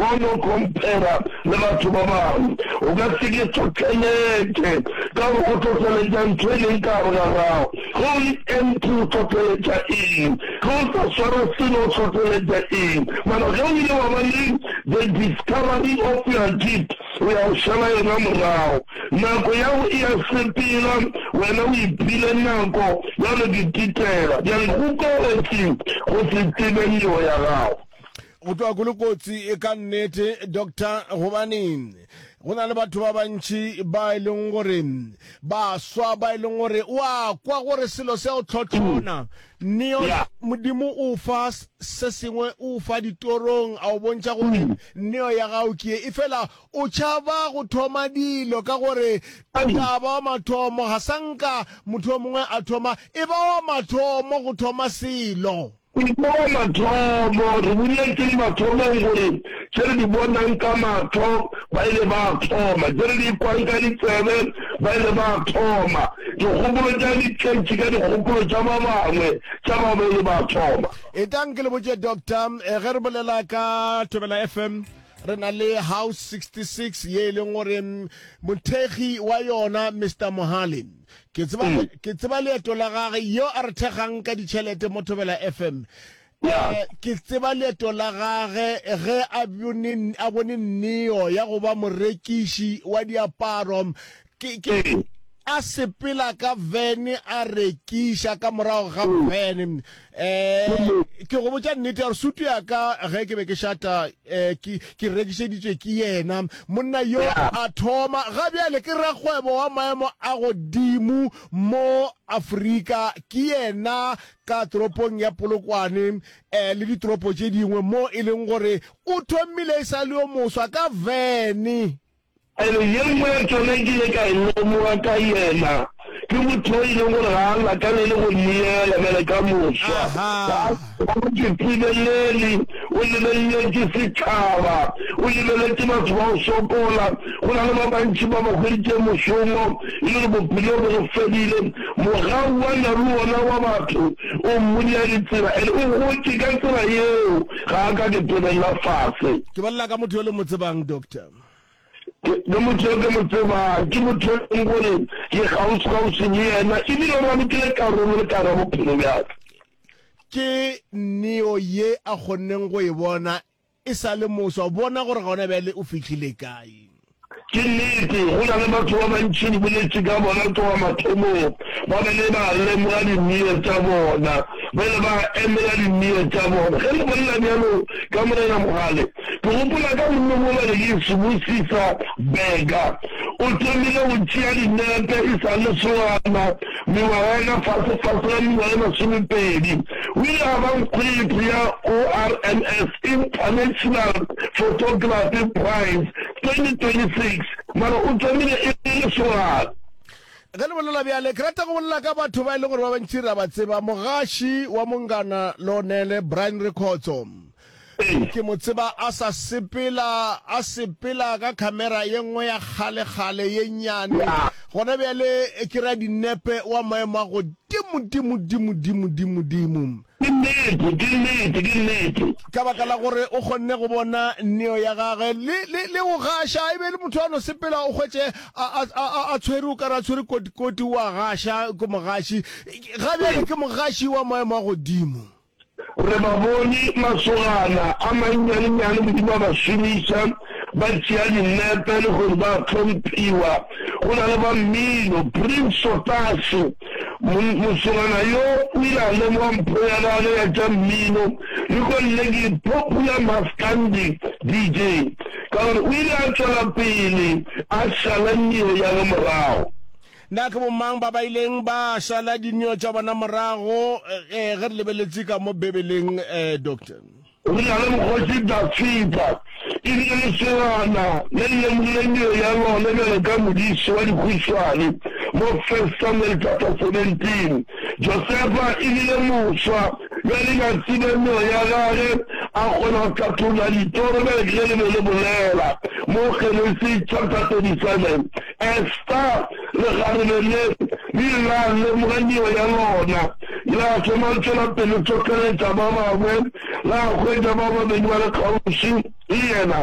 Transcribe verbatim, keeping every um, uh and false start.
Ga o no compare le batho ba bangwe. O ka se ke hlohleletše ka gore o hlohleletša ntho e leng ka gare ga gago. Ge o le empty o hlohleletša eng? Ge o sa sware selo o hlohleletša eng? Mara ge o ile wa ba le the discovery of your gift, o ya go šala yona morago. Nako ya go e ya sepela, wena o iphile nako ya go di titela. Bjale go kotsi go se tsebe neo ya gago. Go tloga go le kotsi ka nnete, Doctor, gobane go na le batho ba bantši ba e leng gore baswa ba e leng gore o a kwa gore selo se a o tlhotlhona. Neo, Modimo o fa se sengwe, o fa ditorong, a o bontšha gore neo ya gago ke ye. Efela o tšhaba go thoma dilo ka gore o tla ba wa mathomo, ga sa nka motho yo mongwe a thoma, e ba wa mathomo go thoma selo. E ba wa mathomo. Re boletše mathomong gore tše re di bonang ka mahlo ba ile ba thoma, tše re di kwang ka ditsebe ba ile ba thoma, dikgopolo tša di tletše ka dikgopolo tša ba bangwe tša ba ba ile ba thoma. Etlang ke le botše, Doctor, ge re bolela ka Thobela F M, re na le House sixty-six ye e leng gore mothekgi wa yona Mister Mohale, ke tseba, ke tseba leeto la gage, yo a re thekgang ka ditšhelete mo Thobela F M. Eh, ke tseba leeto la gage ge a bone, a bone neo ya go ba morekiši wa diaparo, ke, ke, a sepela ka vene a rekiša ka morago ga vene. Um ke go botša nnete ya gore sutu ya ka ge ke be ke šata, um ke, ke rekišeditšwe ke yena monna yo. A thoma ga bjale ke rakgwebo wa maemo a godimo mo Afrika, ke yena ka toropong ya Polokwane um le ditoropo tše dingwe mo e leng gore o thomile e sa le yo moswa ka vene. Ene ye nngwe ya tšona ke ile ka e lemoga ka yena, ke motho yo e leng gore ga a lakalele go neela bjale ka moswa. Ga a itsebelele, o lebeleletše setšhaba, o lebeletše batho ba go sokola. Go na le ba bantši ba ba hweditše mošomo e le gore bophelo bo go fedile. Mogau wa na le wona wa batho o mmodia ditsela, ene o gotše ka tsela yeo, ga a ka ke tebelela fase. Ke bolela ka motho yo le mo tsebang, Doctor. Ke motho yo ke mo tsebang, ke motho yo e leng gore ke kgauswi-kgauswi le yena, e bile o ralokile karolo le ka gare ga bophelo bja ka. Ke neo ye a kgonneng go e bona e sa le moswa. Bona gore gona bjale o fihlile kae. Ke nnete, go na le batho ba bantši re boletše ka bona tloga mathomong, ba bile ba lemoga dineo tša bona, ba ile ba emela dineo tša bona. Ge re bolela bjalo ka Morena Mogale, Ke gopola ka monna mola le ke Sibusisa Bega. O thomile go tšea dinepe e sa le lesogana, mengwaga ya ka fase-fase ga mengwaga e masomepedi. O ile a ba nkgwete ya O R M S International Photography Prize twenty twenty-six, mara o thomile e le lesogana. Ge le bolela bjale, ke rata go bolela ka batho ba e leng gore ba bantši re a ba tseba. Mogaši wa Mongana Lonele, Brian Rekhotso. Ke mo tseba a sa sepela, a sepela ka khamera ye nngwe ya kgale-kgale ye nnyane. Gona bjale ke ra dinepe wa maemo a godimo, dimo, dimo, dimo, dimo, dimo. Ke nnete, ke nnete, ke nnete. Ka baka la gore o kgonne go bona neo ya gagwe le, le, le go gaša. E be e le motho a no sepela, o hwetše a, a, a, a tshwere, o ka re a tshwere kotikoti, o a gaša, ke mogaši. Ga bjale ke mogaši wa maemo a godimo. Re ba bone masogana a mannyanenyane Modimo a ba šomiša, ba tšea dinepe le gore ba hlomphiwa. Go na le ba mmino, Prince Sotashe, mosogana yo o ile a lemoga mpho ya gagwe ya tša mmino le gonne ke popular maskandi D J ka gore o ile a tšwela pele a šala neo ya ge morago. Na ke bomang ba ba ileng ba šala dineo tša bona morago ge re lebeletše ka mo Bibeleng, Doctor? Re na le Mokgoši Dafida, e bile lesogana le le lemogile neo ya lona bjalo ka modiši wa dihuswane mo First Samuel chapter seventeen. Josefa e bile moswa yo a ileng a tseba neo ya gage, a kgona go hlatholla ditoro bjalo ke ge le be le bolela mo Genesi chapter thirty-seven. Esta, lekgarebe le, le ile la lemoga neo ya lona, la thoma go tšwela pele hlohleletša ba bangwe, la hwetša ba babedi ba le kgauswi le yena.